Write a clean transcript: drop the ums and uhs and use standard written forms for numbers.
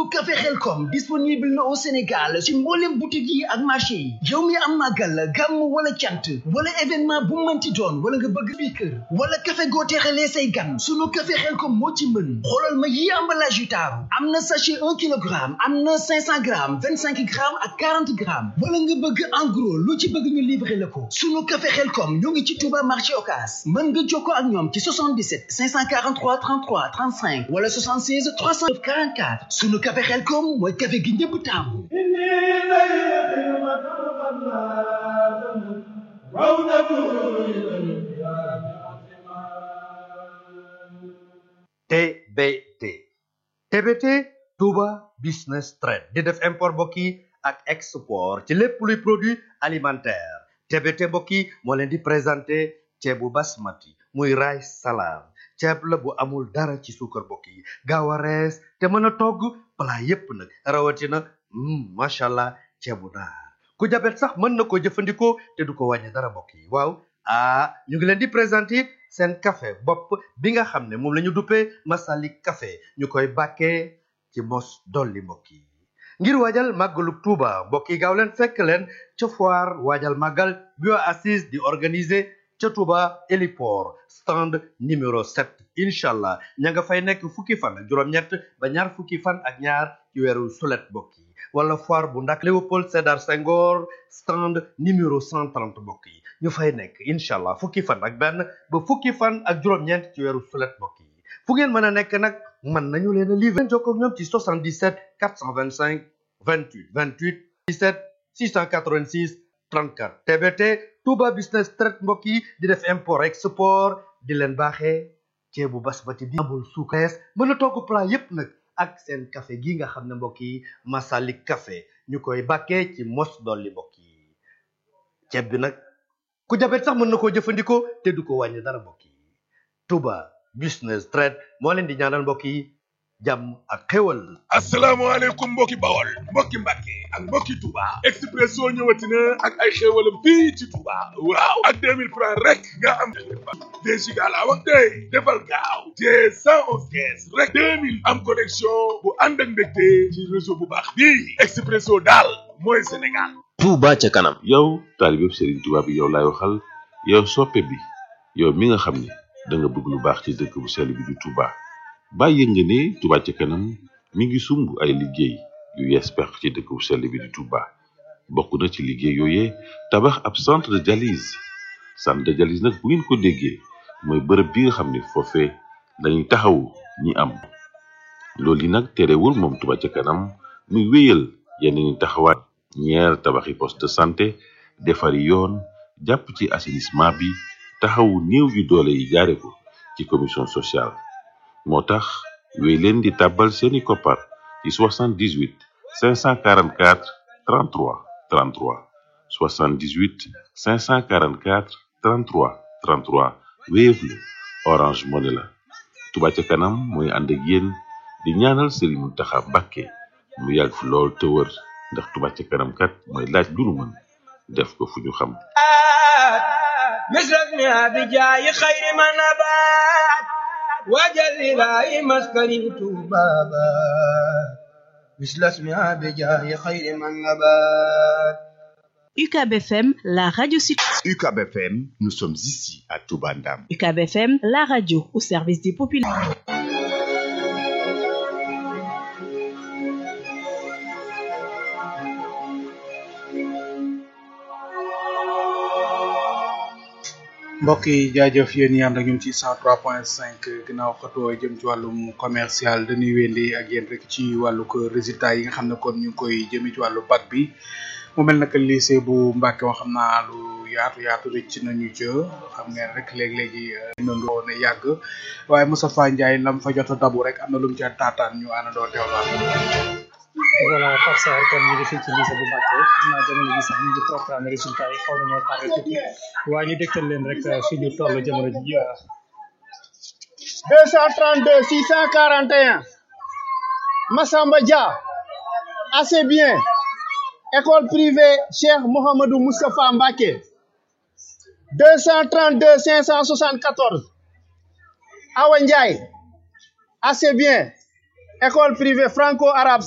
sunu café Xelkom disponible na au Sénégal ci mboolem boutique yi ak marché yi yow mi am màggal gàmm wala cant wala événement bu mënti doon wala nga bëgg bi kër wala café goo teexalee say gan sunu café Xelkom moo ci mën xoolal ma yi emballage yu taaru am na sachet 1 kilogramme am na 500 grammes 25 grammes ak 40 grammes wala nga bëgg en gros lu ci bëgg ñu livrer la ko sunu café Xelkom ñoo ngi ci Touba marché Ocass mën nga jokkoo ak ñoom ci 77 543 33 35 wala 76 344 sunu café Xelkom mooy café gi ñëpp taamu. TBT Touba Business Trade di def import mbokk yi ak export ci lépp luy produit alimentaire TBT mbokk yi moo leen di présenté ceebu basmati muy rice salam ceeb la bu amul dara ci suukar mbokk yi gaaw a rees te mën a togg plat yépp nag rawatina macha allah ceebu naar ku jabet sax mën na ko jëfandikoo te du ko wàññi dara mbokk yi waaw ñu ngi leen di présenté seen café bopp bi nga xam ne moom la ñu duppee Masalik café ñu koy bàkkee ci mos dolli mbokk yi ngir waajal màggalu Tuuba mbokk yi gaaw leen fekk leen ca foire waajal màggal bio assise di organiser ca Touba héliport stand numéro 7 incha allah ña nga fay nekk fukki fan ak juróom-ñett ba ñaar fukki fan ak ñaar ci weeru sulet mbokk yi wala foire bu ndak Léopold Sédar Senghor stand numéro 130 mbokk yi ñu fay nekk incha allah fukki fan ak benn ba fukki fan ak juróom-ñeent ci weeru sulet mbokk yi fu ngeen mën a nekk nag mën nañu leen a livrer jokkoo ak ñoom ci 77 425 28 28 17 686 34 TBT Touba Business Trade mbokk yi di def import export di leen baaxee ceebu basmati bi amul suukar mën a togg plat yépp nag ak seen café gi nga xam ne mbokk yi Masalik café ñu koy bàkkee ci mos dolli mbokk yi ceeb bi nag ku jabet sax mën na koo jëfandikoo te du ko wàññi dara mbokk yi Touba Business Trade moo leen di ñaanal mbokk yi jàmm ak xéwal. asalaamaaleykum mbokki Bawol mbokki Mbàkke ak mbokki Touba Expresso ñëwati na ak ay xéwalam fii ci Touba waaw ak 2000 francs rek nga am 2 giga laa wax tey defal gaaw te 111 kees rek 2000 am connexion bu ànd ak mbégte ci réseau bu baax bii Expresso daal mooy Sénégal. Touba ca kanam. yow taalibe Serigne Touba bi yow laay waxal yow soppe bi yow mi nga xam ne da nga bëgg lu baax ci dëkk bu sell bi di Touba. bàyyi nga ne Touba ca kanam mi ngi sumb ay liggéey yu yees pex ci dëkk bu sell bi di Touba bokk na ci liggéey yooyee tabax ab centre de dialyse nag bu ngeen ko déggee mooy bërëb bi nga xam ne foofee dañuy taxawu ñi am loolu yi nag terewul moom Touba ca kanam muy wéyal yeneen taxawaay ñeer tabaxi poste de santé defari yoon jàpp ci assainissement bi taxawu néew yu doole yi jaare ko ci commission sociale moo tax wéy leen di tàbbal seeni koppar ci 78 544 33 33 78 544 33 33 Wave la Orange Money la Touba ca kanam mooy ànd ak yéen di ñaanal Serigne Mountakha Mbacké mu yàgg fi lool te wër ndax Touba ca kanam kat mooy laaj lu nu mën def ko fu ñu xam وجل لا مسكن بابا مثل اسمها بجاه خير من نبات UCAB FM, la radio UCAB FM, nous sommes ici à Touba Ndam. UCAB FM, la radio au service des populations. mbokk yi jaajëf yéen ñi ànd ak ñun ci 103.5 ginnaaw xatoo jëm ci wàllum commercial dañuy wéndi ak yéen rek ci wàllu ko résultat yi nga xam ne kon ñu ngi koy jëmee ci wàllu bac bi mu mel naka lycée bu Mbàkke wax xam naa lu yaatu rëcc nañu jë xam ngeen rek léegi-léegi nandoo ne yàgg waaye Moustapha Ndiaye lam fa jot a dabu rek am na lu mu ci taataan ñu àndandoo teewlaat voilà Pape Sarr kon ñu ngi fii ci lycée bu Mbacké xam naa jamono ji sax ñu ngi programme résultat yi xaw nañoo tardé tuuti waaye ñu dégtal leen rek fi ñu toll jamono ji 232 641 Massamba Dia assez bien école privée Cheikh Mouhamadou Moustapha Mbacké 232 574 Awa Ndiaye assez bien école privée franco-arabe